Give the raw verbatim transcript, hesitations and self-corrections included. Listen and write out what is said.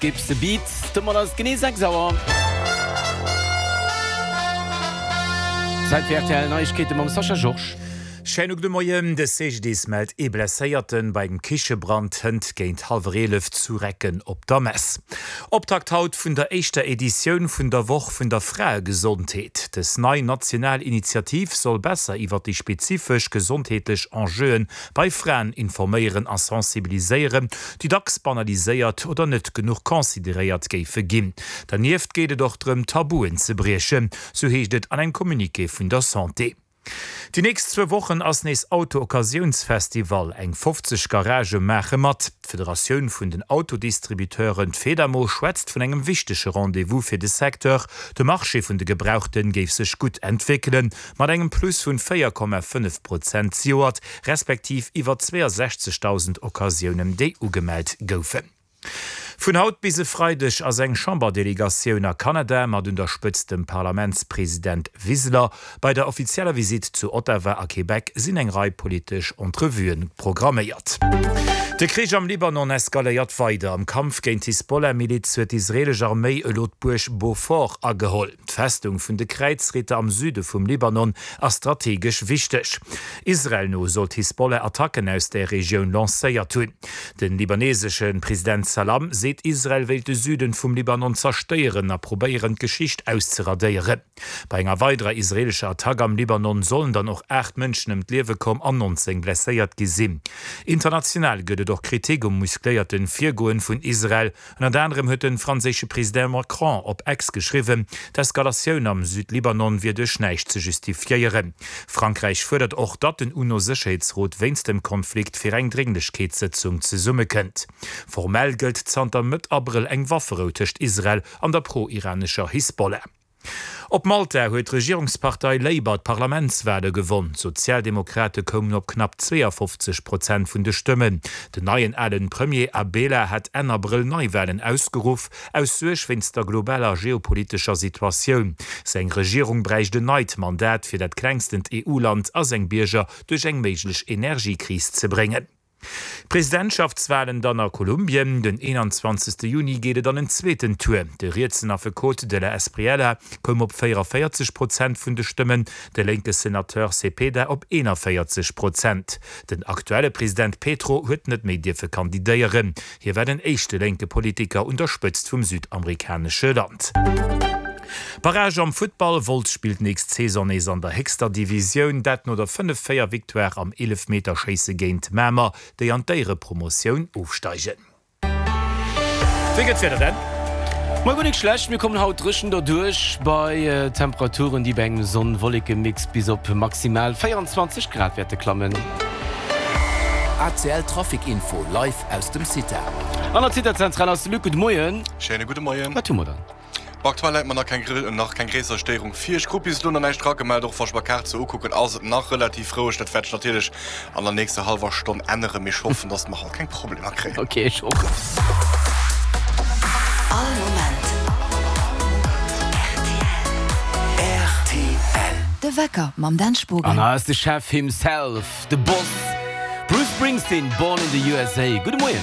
Skips a Beat. Domat ass et genee sechs Auer. Zäit fir rtl Neiegkeete mam Sascha Georges. Schéine gudde Moien. De C G D I S mellt ee Blesséierten bei engem Kichebrand hënt géint hallwer eelef zu Recken op der Mess. Optakt haut vun der éischter Editioun vun der Woch vun der Fraegesondheet. Dës nei national Initiativ soll besser iwwer déi spezifesch gesondheetlech Enjeuen bei Fraen informéieren a sensibiliséieren, déi dacks banaliséiert oder net genuch consideréiert géife ginn. Dernieft geet et och drëm, Tabuen ze briechen, sou heescht et an engem Communiqué vun der Santé. Déi nächst zwou Wochen ass nees Auto-Occasiouns-Festival, eng fofzeg Garagë maache mat. D'Federatioun vun den Autodistributeuren, d'Fedamo, schwätzt vun engem wichtege Rendez-vous fir de Secteur. De Marché vun de Gebrauchten géif sech gutt entwéckelen, mat engem Plus vun véier Komma fënnef Prozent zejoert, respektiv iwwer zweeësechzegdausend Occasiounen, déi ugemellt goufen. Vun haut bis e Freideg ass eng Chamberdelegatioun a Kanada, mat un der Spëtzt dem Parlamentspresident Wiseler. Bei der offizieller Visitt zu Ottawa a Québec sinn eng Rei politesch Entrevuen programméiert. De Krich am Libanon eskaléiert weider. Am Kampf géint d'Hisbollah-Miliz huet d'israeelesch Arméi elo d'Buerg Beaufort ageholl. D'Festung vun de Kräizritter am Süde vum Libanon ass strategesch wichteg. Israel no soll d'Hisbollah Attacken aus där Regioun lancéiert hunn. Den libanesesche President Salam seet, Israel wéilt de Süden vum Libanon zerstéieren a probéieren, d'Geschicht auszeradéieren. Bei enger weiderer israeelescher Attack am Libanon sollen dann och aacht Mënschen ëm d'Liewe komm an nonzéng blesséiert gi sinn. International gëtt et och Kritik um muscléierte Virgoen vun Israel. Ënnert anerem huet de franséische President Macron op X geschriwwen, d'Eskalatioun am Südlibanon wier duerch näischt ze justifiéieren. Frankräich fuerdert och, datt den UNO-Sécherheetsrot wéinst dem Konflikt fir eng Drénglechkeetssëtzung zesummekënnt. Formell gëllt zanter Mëtt Abrëll eng Wafferou tëscht Israel an der pro-iranescher Hisbollah. Op Malta huet d'Regierungspartei Labour d'Parlamentswale gewonn. D'Sozialdemokrate koumen op knapp zweeënfofzeg Prozent vun de Stëmmen. Den neien alen Premier Abela hat Enn Abrëll Neiwalen ausgeruff, aus Suerg wéinst der globaler geopolitescher Situatioun. Seng Regierung bräicht en neit Mandat, fir dat klengstent E U-Land a seng Bierger duerch eng méiglech Energiekris ze bréngen. Presidentschaftswalen dann a Kolumbien, Den eenanzwanzegste Juni geet et an en zweeten Tour. De rietsen Affekot de la Espriella koum op véieranvéierzeg Prozent vun de Stëmmen, de lénke Senateur Cepeda op eenanvéierzeg Prozent. Den aktuelle President Petro huet net méi dierfe kandidéieren. Hie war den éischte lénke Politiker un der Spëtzt vum südamerikanesche Land. Barrage am Futtball, Wolz spillt nächst Saison nees an der héchster Divisioun, dat no der fënnef véier Victoire am Eelefmeterschéisse géint Mamer, déi an d'Éierepromotioun ofsteigen. Wéi gëtt d'Wieder denn? Mol guer nik schlecht, mir kommen haut dréchen derduerch bei Temperaturen, déi bei engem Sonn-Wolleke-Mix bis op maximal véierundzwanzeg Grad wäerte klammen. A C L Trafic Info live aus dem CITA. An der CITA-Zentral ass de Luc. Gudde Moien. Schéine gudde Moien. Wat hu mer dann? Aktuell läit mer nach keng nach keng gréisser Stéierung vir. Ech krut bis elo nach näischt eragemellt. Och wa ech mer d'Kaart sou ukucken, ass et nach relativ roueg. Dat wäert sech natierlech an der nächster hallwer Stonn änneren, mee ech hoffen, dass mer haut keng Problemer kréien. Ok, ech och. All Moment rtl. De Wecker mam Dan Spogen. An hei ass de Chef himself, de Boss, Bruce Springsteen, Born in the U S A. Gudde Moien.